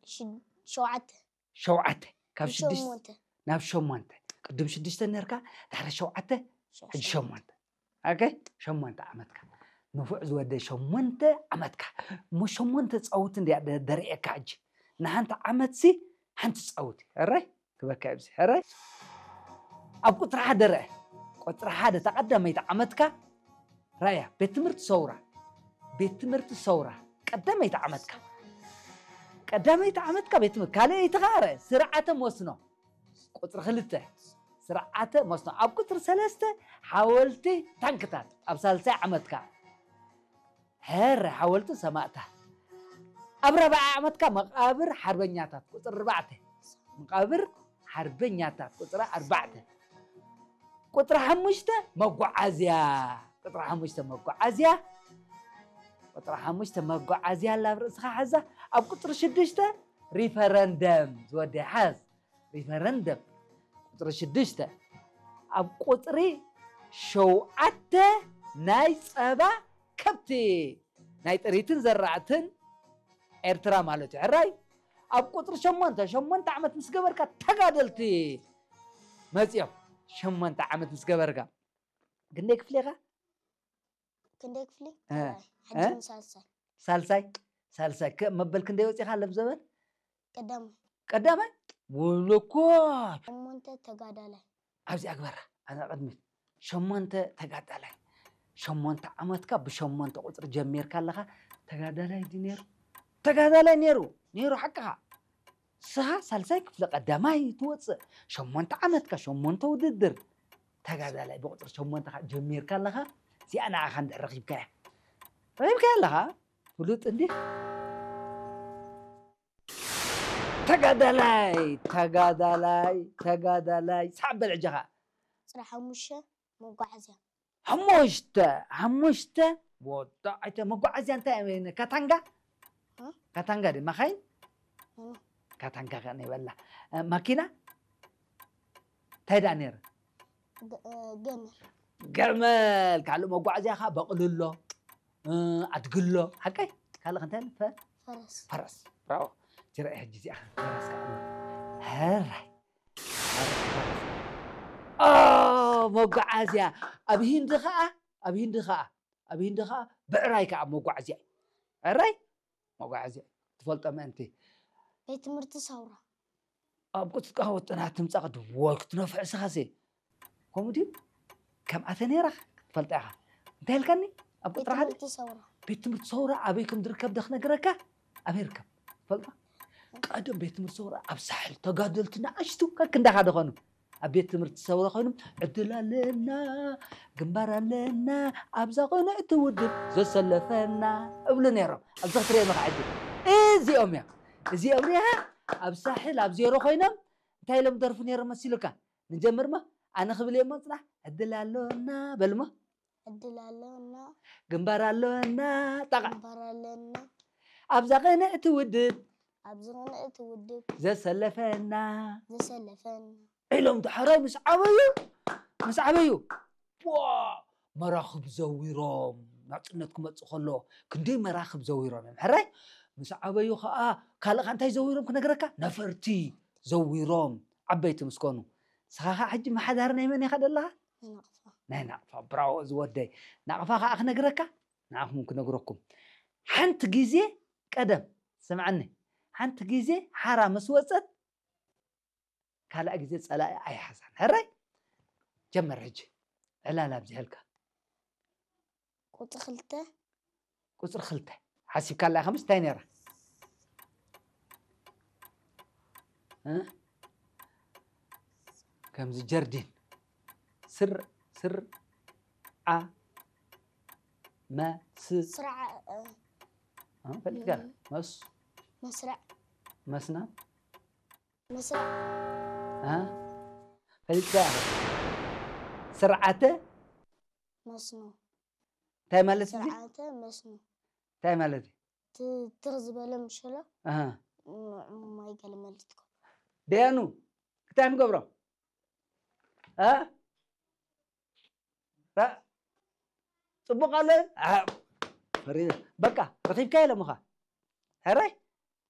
ሽድ- ሸውዓተ። ሸውዓተ። ካብ ሽዱሽተ ሸሞንተ። ናብ ሸሞንተ። ቅድም ሽዱሽተ ነርካ፣ ድሕሪ ሸውዓተ፣ ሕጂ ሸሞንተ። ኦኬ፣ ሸሞንተ ዓመትካ። ንፉዕ ዝወደ ሸሞንተ ዓመትካ። እሞ ሸሞንተ ጻውቲ እንዲያ ደ- ደርእየካ ሕጂ። ንሓንቲ ዓመት ሲ ሓንቲ ጻውቲ። ሕራይ ክበካ ኣብዚ። ሕራይ ኣብ ቁጽሪ ሓደ ርአ። ቁጽሪ ሓደ፣ እታ ቀዳመይቲ ዓመትካ ራያ፣ ቤት ትምህርቲ ሰውራ። ቤት ትምህርቲ ሰውራ ቀዳመይቲ ዓመትካ። ቀዳመይቲ ዓመትካ ቤት ትምህርቲ። ካልኣይቲ ኸዓ ርአ፣ ስርዓተ መስኖ። ቁጽሪ ክልተ፣ ስርዓተ መስኖ። ኣብ ቁጽሪ ሰለስተ፣ ሓወልቲ ታንክታት ኣብ ሳልሳይ ዓመትካ። ሕራይ ሓወልቲ ሰማእታት። ኣብ ራብዓይ ዓመትካ መቓብር ሓርበኛታት ቁጽሪ ኣርባዕተ። መቓብር ሓርበኛታት ቁጽሪ ኣርባዕተ። ቁጽሪ ሓሙሽተ መጓዓዝያ። ቁጽሪ ሓሙሽተ መጓዓዝያ። ቁጽሪ ሓሙሽተ መጓዓዝያ ኣላ ኣብ ርእስኻ ሓዛ። ኣብ ቁጽሪ ሽዱሽተ ሪፈረንደም ዝወደይ ሓዝ። ሪፈረንደም። ቁጽሪ ሽዱሽተ። ኣብ ቁጽሪ ሸውዓተ ናይ ጸባ ከብቲ። ናይ ጥሪትን ዘራእትን ኤርትራ ማለት እዩ። ሕራይ ኣብ ቁጽሪ ሸሞንተ፣ ሸሞንተ ዓመት ምስ ገበርካ ተጋደልቲ መጺኦም። ሸሞንተ ዓመት ምስ ገበርካ ክንደይ ክፍሊ ኢኻ? ክንደይ ክፍሊ? እ፣ ሕጂ እ? ንሳልሳይ። ሳልሳይ። ሳልሳይ ከ መበል ክንደይ ወጺኻ ለብ ዘበን? ቀዳማይ። ቀዳማይ። ወለኮ ሸሞንተ ተጋዳላይ። ኣብዚ ኣግበራ ኣነ ቅድሚት ሸሞንተ ተጋዳላይ። ሸሞንተ ዓመትካ ብሸሞንተ ቁፅሪ ጀሚርካ ኣለኻ። ተጋዳላይ ድዩ ነይሩ? ተጋዳላይ ነይሩ። ነይሩ ሓቅኻ። ስኻ ሳልሳይ ክፍሊ ቀዳማይ ትወፅእ። ሸሞንተ ዓመትካ ሸሞንተ ውድድር። ተጋዳላይ ብቁፅሪ ሸሞንተ ጀሚርካ ኣለኻ። እዚኣ ንዓኻ እንድሕር ረኺብካያ፣ ረኺብካያ ኣለኻ። ፍሉጥ እንዲ ተጋዳላይ፣ ተጋዳላይ፣ ተጋዳላይ። ሳዕ በል ሕጂ ኸዓ። ቁፅሪ ሓሙሽተ መጓዓዝያ። ሓሙሽተ፣ ሓሙሽተ። ወዳ ኣይተ መጓዓዝያ እንታይ እዩ? ካታንጋ? እ? ካታንጋ ድዩ? ማኻይን? እ። ካታንጋ ከ ናይ በላ። እ፣ ማኪና? እንታይ ደኣ ነይሩ? ገ- እ፣ ገመል። ገመል። ካልእ መጓዓዝያ ኸዓ በቕሊ ኣሎ፣ እ፣ ኣድጊ ኣሎ። ሓቀይ? ካልእ እንታይ ኣሎ? ፈ- ፈረስ። ፈረስ። ብራቮ። ጅራ ሕጂ እዚኣ ፈረስ ከኣ ኣሎ። ሕራይ። ኦ፣ መጓዓዝያ። ኣብ ሂንዲ ኸዓ፣ ኣብ ሂንዲ ኸዓ፣ ኣብ ሂንዲ ኸዓ ብዕራይ ከኣ መጓዓዝያ እዩ። ዕራይ መጓዓዝያ እዩ። ትፈልጦ ምእንቲ። ቤት ትምህርቲ ሰውራ። ኣብ ቁጥጥቃ ወጥና ትምጻእ ቅድም ወይ ክትነፍዕ ስኻሴ። ከምኡ ድዩ? ከም ኣተ ነይራ ክትፈልጣ ኢኻ። እንታይ ኢልካኒ? ኣብ ቤት ቁጥሪ ሓደ? ትምህርቲ ሰውራ። ቤት ትምህርቲ ሰውራ ኣበይ ከም ዝርከብ ዶ ክነግረካ? ኣበይ ይርከብ? ትፈልጣ? ቀደም ቤት ትምህርቲ ሰውራ ኣብ ሳሕል ተጋደልቲ ንኣሽቱ ከክንዳኻ ዶ ኾኑ? ኣብ ቤት ትምህርቲ ሰውራ ኮይኖም ዕድል ኣለና፣ ግንባር ኣለና፣ ኣብዛ ቅንዕቲ ውድብ ዘሰለፈና እብሉ ነይሮም። ኣብዚ ክትሪኦም ኢኻ ሕጂ። እዚኦም እዮም። እዚኦም ሪኢኻ ኣብ ሳሕል ኣብ ዜሮ ኮይኖም እንታይ ኢሎም ደርፉ ነይሮም መሲሉካ? ንጀምር እሞ ኣነ ክብል እየ እሞ ጽናሕ። ዕድል ኣሎና በል እሞ። ዕድል ኣሎና። ግንባር ኣሎና። ጣቓ። ግንባር ኣሎና። ኣብዛ ቅንዕቲ ውድብ ኣብዚ ቅንዕቲ ውድብ ዘሰለፈና። ዘሰለፈና። ኢሎም ዳሕራይ ምስ ዓበዩ፣ ምስ ዓበዩ፣ ዋ፣ መራኽብ ዘዊሮም ናጽነት ክመጽእ ከሎ ክንደይ መራኽብ ዘዊሮም እዮም። ሕራይ ምስ ዓበዩ ኸኣ ካልእ ኸኣ እንታይ ዘዊሮም ክነግረካ? ነፈርቲ ዘዊሮም ዓበይቲ ምስ ኮኑ። ንስኻ ኸኣ ሕጂ መሓዳሪ ናይ መን ኢኻ ደለኻ? ናይ ናቕፋ። ናይ ናቕፋ። ብራቮ ዝወደይ። ናቕፋ ኸኣ ክነግረካ፣ ንዓኹም ክነግረኩም። ሓንቲ ግዜ ቀደም፣ ስምዓኒ፣ ሓንቲ ግዜ ሓራ ምስ ወጸት ካልኣ ግዜ ጸላኢ ኣይሓዛን። ሕራይ ጀመር ሕጂ ዕላል ኣብዚሐልካ። ቁጽሪ ክልተ። ቁጽሪ ክልተ ሓሲብካ ኣላ ከምስ እንታይ ነይራ? እ? ከምዚ ጀርዲን ስር ስር ዓ መስ ስርዓ እ፣ እ፣ ፈሊጥካ መስ መስርዕ። መስና መስርዕ። እ? ፈሊጥካ ስርዓተ መስኖ። እንታይ ማለት እዩ? ስርዓተ መስኖ። እንታይ ማለት እዩ? ት- ትኽ ዝበለ ምሸሎ ኣሃ። ም- ማይ ገለ መልትኮ። ደያኑ እንታይ ንገብሮ? እ? እ? ጽቡቕ ኣሎ? እ፣ ፈሪደ። በቃ ረኺብካዮ ሎምኻ። ሕራይ?